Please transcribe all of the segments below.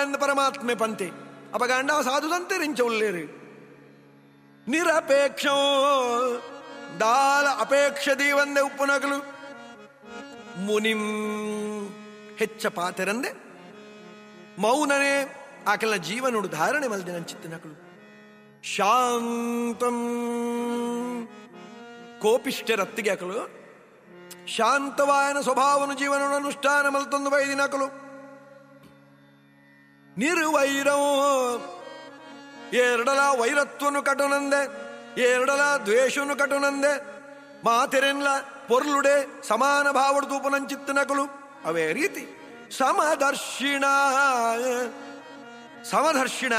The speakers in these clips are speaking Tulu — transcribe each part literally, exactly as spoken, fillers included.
ಅಂದ ಪರಮಾತ್ಮೆ ಪಂತೆ ಅಪಗಾಂಡ ಸಾಧು ಸಂತೆರಿಂಚ ಉಲ್ಲೇರು ನಿರಪೇಕ್ಷ ದಾಲ ಅಪೇಕ್ಷ ದೀವಂದೆ ಉಪ್ಪುನಗಲು ಮುನಿಂ ಹೆಚ್ಚ ಪಾತೆರಂದೆ ಮೌನನೇ ಆಕಲ್ನ ಜೀವನೋಡು ಧಾರಣೆ ಮಲ್ದೆ ನಂಚಿತ್ತನಕಲು ಶಾಂತಂ ಕೋಪಿಷ್ಠರತ್ತಿಗೆ ಅಕಲು ಶಾಂತವಾಯನ ಸ್ವಭಾವನು ಜೀವನ ಅನುಷ್ಠಾನ ಮಲ್ತೊಂದು ಬೈದಿನಕಲು ನಿರ್ವೈರಂ ಎರಡಲ ವೈರತ್ವನು ಕಟುನಂದೆ ಎರಡಲ ದ್ವೇಷನು ಕಟುನಂದೆ ಮಾತೆರೆನ್ಲ ಪೊರ್ಲುಡೆ ಸಮಾನ ಭಾವಡು ತೂಪುನಂಚಿತ್ತನಕಲು ಅವೇ ರೀತಿ ಸಮದರ್ಶಿಣ ಸಮದರ್ಶಿಣ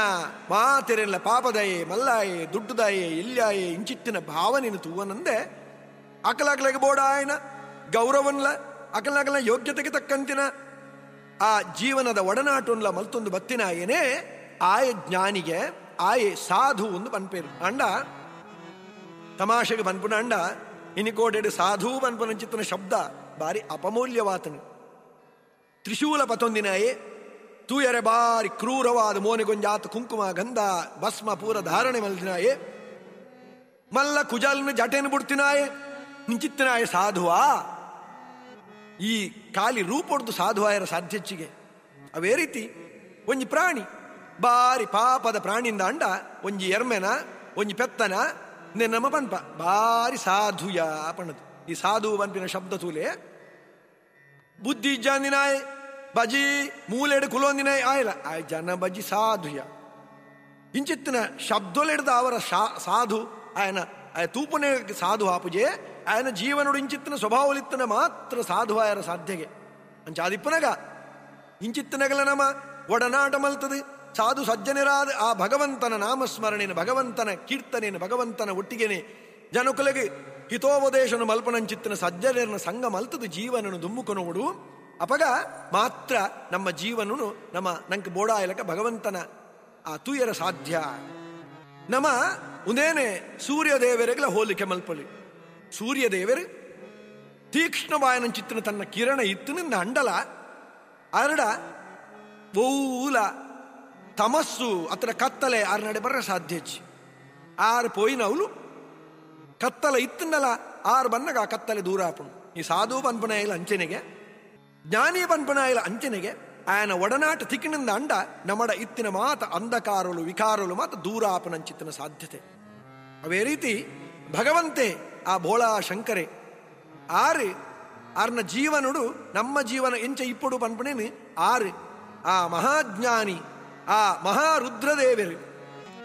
ಮಾತೆರೆನ್ಲ ಪಾಪದಯೆ ಮಲ್ಲಾಯೆ ದುಡ್ಡುದಾಯೆ ಇಲ್ಲಾಯೆ ಇಂಚಿತ್ತಿನ ಭಾವನೆಯನ್ನು ತೂವನಂದೆ ಅಕಲಕಲೆಗೆ ಬೋಡಾಯನ ಗೌರವನ್ಲ ಅಕಲಕಲ ಯೋಗ್ಯತೆಗೆ ತಕ್ಕಂತಿನ ಆ ಜೀವನದ ಒಡನಾಟನ್ಲ ಮಲ್ತೊಂದು ಬತ್ತಿನಾಯನೇ ಆಯ ಜ್ಞಾನಿಗೆ ಆಯೆ ಸಾಧು ಒಂದು ಪನ್ಪೇರು ಅಂಡ ತಮಾಷೆಗೆ ಪನ್ಪುನ ಅಂಡ ಇನಿಕೋಟೆಡು ಸಾಧು ಪನ್ಪುನಂಚಿತ್ತನ ಶಬ್ದ ಬಾರಿ ಅಪಮೂಲ್ಯವಾತನು. ತ್ರಿಶೂಲ ಪತೊಂದಿನಾಯೆ ತೂಯರೆ ಬಾರಿ ಕ್ರೂರವಾದ ಮೋನೆಗೊಂಜಾತ ಕುಂಕುಮ ಗಂಧ ಭಸ್ಮ ಪೂರ ಧಾರಣೆ ಮಲ್ದಿನಾಯೆ ಮಲ್ಲ ಕುಜಲ್ನ ಜಟೆನು ಬಿಡ್ತಿನಾಯೆ ನಿಂಚಿತ್ತನಾಯೆ ಸಾಧುವಾ ಈ ಖಾಲಿ ರೂಪೊಡ್ದು ಸಾಧುವಾಯರ ಸಾಧ್ಯಚ್ಚಿಗೆ. ಅವೇ ರೀತಿ ಒಂಜಿ ಪ್ರಾಣಿ ಬಾರಿ ಪಾಪದ ಪ್ರಾಣಿಯಿಂದ ಅಂಡ ಒಂಜಿ ಎರ್ಮೆನ ಒಂಜಿ ಪೆತ್ತನ ನಮ್ಮ ಪನ್ಪ ಬಾರಿ ಸಾಧುಯ ಪಣ್ಣದು. ಈ ಸಾಧು ಪನ್ಪಿನ ಶಬ್ದ ತೂಲೆ ಬುದ್ಧಿ ಇಜ್ಜಾಂದಿನಾಯ್ ಬಜಿ ಮೂಲೆಡು ಕುಲೊಂದಿನಾಯ್ ಆಯ್ಲ ಆಯ್ ಜನ ಬಜಿ ಸಾಧುಯ ಇಂಚಿತ್ತಿನ ಶಬ್ದೊಲೆಡ್ದ ಅವರ ಸಾಧು ಆಯನ ಆಯ ತೂಪನೆ ಸಾಧು ಆಪುಜೆ ಆಯನ ಜೀವನೋಡು ಇಂಚಿತ್ತಿನ ಸ್ವಭಾವಲಿತ್ತನ ಮಾತ್ರ ಸಾಧು ಆಯರ ಸಾಧ್ಯಗೆ ಅಂಚಾದಿಪ್ಪನಗ ಇಂಚಿತ್ತಿನಗಲ ನಮ್ಮ ಒಡನಾಟ ಮಲ್ತದೆ ಸಾಧು ಸಜ್ಜನರಾದ ಆ ಭಗವಂತನ ನಾಮಸ್ಮರಣೆಯನ್ನು ಭಗವಂತನ ಕೀರ್ತನೆಯನ್ನು ಭಗವಂತನ ಒಟ್ಟಿಗೆನೆ ಜನಕುಲಗೆ ಹಿತೋಪದೇಶನು ಮಲ್ಪನಂಚಿತ್ತನ ಸಜ್ಜನರನ್ನ ಸಂಘ ಮಲ್ತದ ಜೀವನನು ದುಮ್ಮುಕೊನೋಡು ಅಪಗ ಮಾತ್ರ ನಮ್ಮ ಜೀವನನು ನಮ್ಮ ನಂಗೆ ಬೋಡಾಯಲಕ ಭಗವಂತನ ಆ ತೂಯರ ಸಾಧ್ಯ. ನಮ್ಮ ಉಂದೇನೆ ಸೂರ್ಯದೇವರಿಗೆಲ್ಲ ಹೋಲಿಕೆ ಮಲ್ಪಲಿ. ಸೂರ್ಯದೇವರು ತೀಕ್ಷ್ಣವಾಯನಂಚಿತ್ತನ ತನ್ನ ಕಿರಣ ಇತ್ತಿನಿಂದ ಅಂಡಲ ಅರಡ ಬೌಲ ತಮಸ್ಸು ಅತ್ರ ಕತ್ತಲೆ ಆರು ನಡೆ ಬರ ಸಾಧ್ಯಚ್ಚಿ ಆರು ಪೋಯಿನವಳು ಕತ್ತಲೆ ಇತ್ತನಲ್ಲ ಆರು ಬನ್ನಗ ಆ ಕತ್ತಲೆ ದೂರ ಆಪುಣು. ಈ ಸಾಧು ಪನ್ಪನಾಯಿಲ ಅಂಚನೆಗೆ ಜ್ಞಾನಿ ಪನ್ಪನಾಯಿಲ ಅಂಚನೆಗೆ ಆಯನ ಒಡನಾಟ ತಿಕ್ಕಿನಿಂದ ಅಂಡ ನಮಡ ಇತ್ತಿನ ಮಾತ ಅಂಧಕಾರಲು ವಿಕಾರಲು ಮಾತ ದೂರ ಆಪನಂಚಿತ್ತಿನ ಸಾಧ್ಯತೆ. ಅವೇ ರೀತಿ ಭಗವಂತೆ ಆ ಭೋಳಾ ಶಂಕರೆ ಆರು ಆರ್ನ ಜೀವನುಡು ನಮ್ಮ ಜೀವನ ಎಂಚ ಇಪ್ಪಡು ಪನ್ಪನೇನು ಆರು ಆ ಮಹಾಜ್ಞಾನಿ ಆ ಮಹಾರುದ್ರದೇವರು